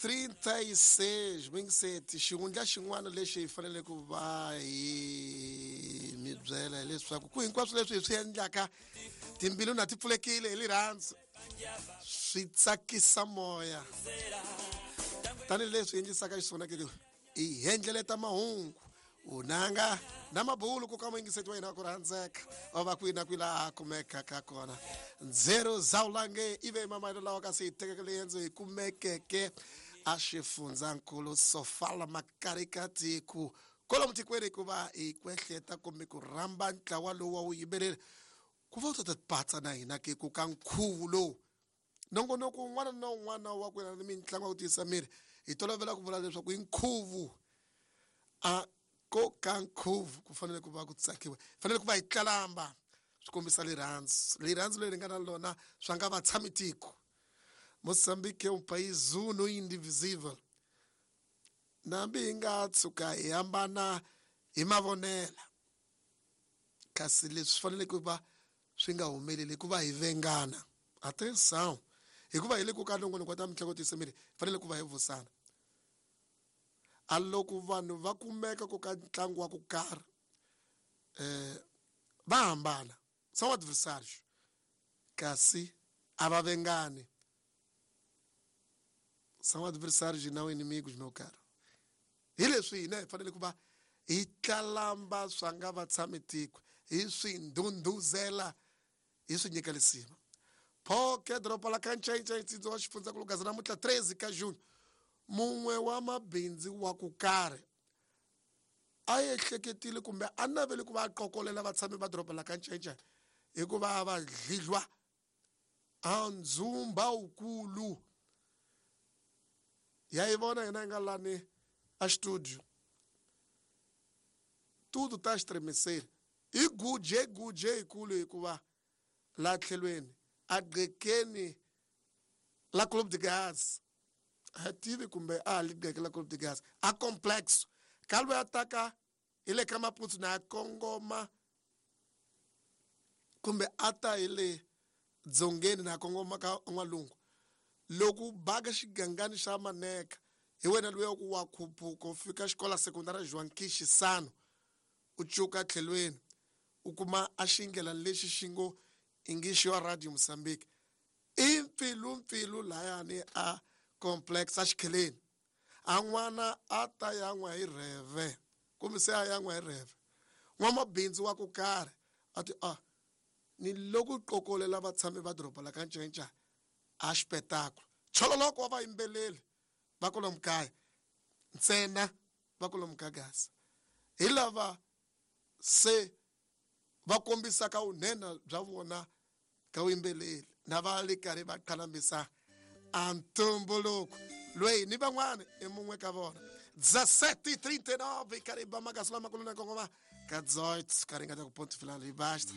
36 mingiseti xihundla xin'wana lexi hi fanele ku va hi mi byela hileswaku ku hinkwaswo leswi hi swi endlaka timbilu na ti pfulekile hi rirhandzu swi tsakisa moya tanihileswi endlisaka xiswona ke hi hendleleta mahungu unanga na mabulu ku ka muyingiseti wa hina wa ku rhandzeka wa va kwihi na kwihi laha kumekaka kona ndzero zawulange ive mamayelo lawa kasi hi tekeke leyendzo hi kumekeke a xifundzankulu sofala makarikatiku kwalomu tikweni ku va hi kwehleta kumbe ku rhamba ntlawa lowu wa vuyimbeleri ku va u ta ta patsa na hina ke ku ka nkhuvo lowu nongonoko wun'wana na wun'wana wa ku yelana ni mitlangu ya ku tiyisa miri hi tolovela ku vula leswaku i nkhuvo a ko ka nkhuvo ku fanele ku va ku tsakiwa fanele ku va hi tlalamba swi kombisa rirhandzu rirhandzu leri nga na lona swa nga va tshami tiko Moçambique é um país uno e indivisível nambi hi nga tshuka hi hambana hi mavonela kasi leswi fanele ku va swi nga humeleli hikuva hi vengana atenção hikuva hi le ku ka nongonoko wa ta mitlangu tiyisa miri hi fanele ku va hi vusana a loko vanhu va kumeka ku ka ntlangu wa ku karhi um va hambana são adversários kasi a va vengani são adversários e não inimigos meu caro hi leswi hina hi fanele ku va hi tlalamba swa nga va tshami tiko hi swi ndhundhuzela hi swi nyika lisima phoke doroba la kancayicayi ntsindza wa xifundzankulu gaza namuntlha 13 ka june mun'we wa mabindzu wa ku karhi a ehleketile kumbe a navele ku va a qokolela vatshami va doroba la kancayicayi hikuva va dlidlwa a ndzumba wukulu ya yi vona hina hi nga lani a studio tudo ta xitremiseli i guje guje yikulu hikuva la tlhelweni a gqekeni la club de gas a tivi kumbe a li gqeke la club de gas a complex ka loyi a taka hi le ka maputsu na kongoma kumbe a ta hi le dzongeni na kongoma ka n'walungu loko u baka xigangani xa maneka hi wena luya ku wa khuphuka u fika xikola sekondara Joaquim Chissano u cuka tlhelweni u kuma a xindlela lexi xi ngo English wa Radio Mozambique i mpfilumpfilu layani a complex a xikheleni a n'wana a ta yan'wa hi rheve kumbe se a yan'wa hi rheve n'wamabindzu wa ku karhi a ti a ni loko qokolela vatshami va doroba la ka ncenca a xipetakulu chololoko wa vayimbeleri va kwalomu kaya ntsena va kwalomu ka gaza hi lava se va kombisaka vunhenha bya vona ka vuyimbeleri na va le karhi va qhalambisa a ntumbuluko loyi ni van'wana i mun'we ka vona 17:39 karhi ba makasi lamakulu na kongoma ka 18 ka ringeta ku ponto final basta.